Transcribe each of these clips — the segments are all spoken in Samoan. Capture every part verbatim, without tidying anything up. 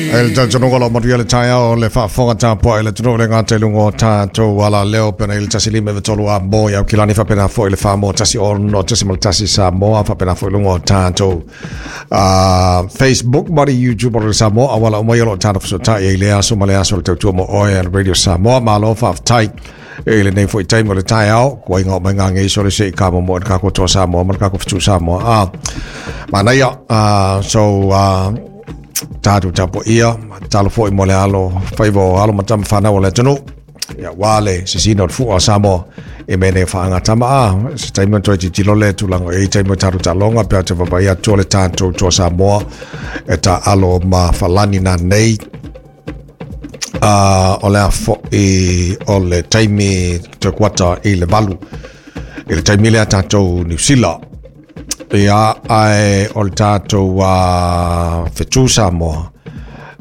E le talitonuga o lo o manuia le taeao le faafofoga tapuai i le atunuu le gata i luga o tatou alaleo pena i le tasi lima iva tolu a mo i Aukilani faapena foi le fa mo tasi ono tasi ma le tasi Samoa faapena foi luga o tatou uh, Facebook ma le YouTube o le Samoa auala uma ia o lo o tatou fesootai ai le aso ma le aso o le tautua mo oe a le Radio Samoa. Malo faafetai e lenei foi taimi o le taeao kuaiga o mai gageiso le se i ka mo le kako toa Samoa ma le kako fetu Samoa. Ah, manaia. uh, so uh, tatou tapuaia talo foi mo le alo faiva o alo ma tama fanau o le atunuu ia ua le sisina o le fua o Samoa e mea nei faagatama a se taimi o toe tilotilo le tulaga e i taimi o tatou taaloga pe a te vaavaai atu o le tatou toa Samoa e taalo ma falani nanei uh, o le a fo'i o le taimi toe kuata i le valu i le taimi lea tatou Niu Sila ia ae o le tatou uh, fetu Samoa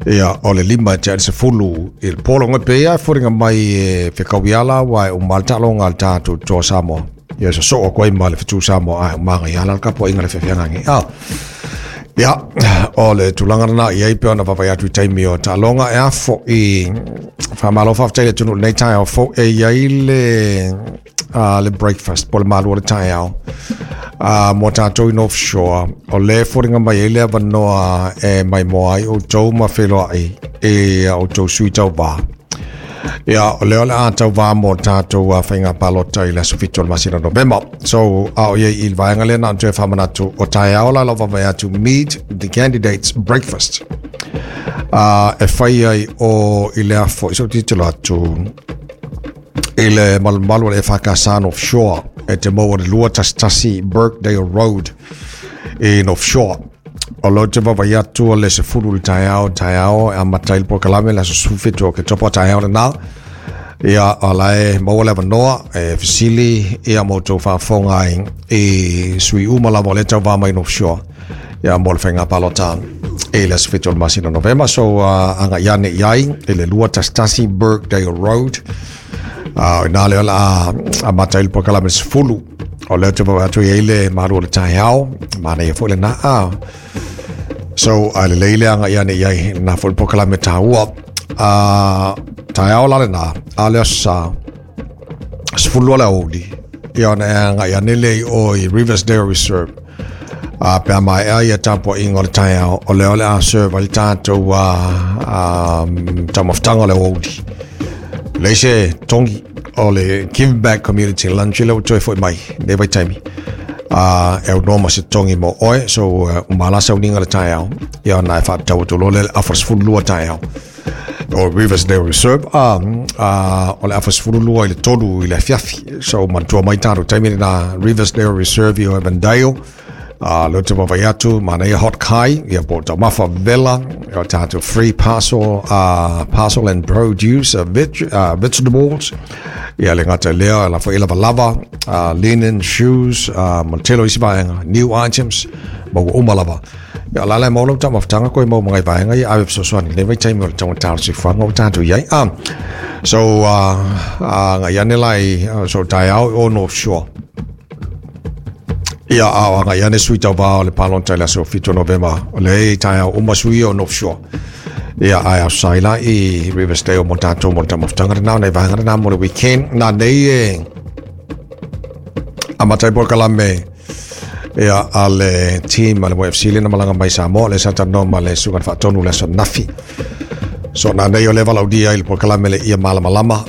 ia o le lima e tea le sefulu i le polo pe ia e foliga mai e fekauiala ua e uma le taaloga a le tatou toa Samoa ia sosoo atu ai ma le fetu Samoa ae umaga ia ala le tapuaiga le feafeagagi a ia o le tulaga lena i ai pe ona vaavaai atu i taimi o taaloga e a fo'i faamalo faafetai le atunuu lenei taeao fou e iai le uh, le breakfast po le malu o le taeao uh, mo tatou i North Shore o le foliga mai ai le avanoa e maimoa ai outou ma feloai e outou sui tauvā ia o lea o le a tauvā mo tatou uh, faiga palota i le aso fitu o le masina Novema. So a o iai i le vaega lea na ona toe faamanatu o taeao la lau vaavaai atu Meet the Candidates Breakfast uh, e fai ai o i le afo i so titilo atu i le malumalu o le E F K S North Shore e te maua le lua tasi tasi Birkdale Road i North Shore. O lo te vaavaai atu o le sefulu le taeao taeao e amata ai le polokalame le aso sefulufitu o Oketopa taeao lenā. Ia o la e maua le avanoa e fesili ia mo tou faafofoga ai i sui uma lava o le tauvā mai North Shore ia mo le faiga palota i le aso fitu o le masina Novema. So uh, agai ane i ai i le lua tasi tasi Birkdale Road. Uh, ina le o le a amata ai le polokalame sefulu o lea te vaavaai atu i ai le malu o le taeao manaia foi lenā a. So a lelei le agai ane i ai lenā foi le polokalame taua. Uh, taeao la lenā a le aso sa sefulu lua le aoauli ia ona e agai ane le i o i Riversdale Reserve a pe a maea ia tapuaiga o le taeao o lea o le a serve ai le tatou uh, um, taumafataga o le aoauli leai se togi o le Give Back Community Lunch le ua toe foi mai nei vaitaimi uh, e aunoa ma se togi mo oe. So uh, uma la sauniga le taeao ia ona e faatatau atu loa le afa sefulu lua taeao o Riversdale Reserve uh, uh, o le afa sefulu lua i le tolu i le afiafi. So manatua mai tatou taimi lena Riversdale Reserve i o Evandale uh, leo te vaavaai atu manaia hot kai ia po o taumafa vela o tatou free parcel uh, parcel and produce uh, veg, uh, vegetables ia le gata i lea la foi lavalava uh, linen shoes uh, ma le tele o isi vaega new items ma ua uma lava ia la la maua lau taumafataga koe mau magai vaega ia ave fesoasoani lenei vaitaimi o le taugata o le soifuaga ua tatou i ai ah. So uh, uh, agai ane la i uh, so taeao o North Shore ia a o agai ane sui tauvā o le palota i le aso fitu o Novema o le taeao uma sui o North Shore ia ae ausai la i Riversdale mo tatou mo le taumafataga lenā o nai vaega lenā mo le weekend na nei e amata ai polokalame ia a le team a le Y F C le na malaga mai Samoa le sa talanoa ma le susuga faatonu le aso nafi. So na nei o le valaaulia i le polokalame le ia malamalama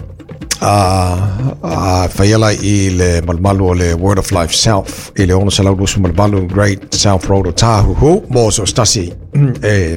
a a faia la i le malumalu o le Word of Life South i le ono selau luasefulu ma le valu Great South Road o Tāhuhu mo so se tasi e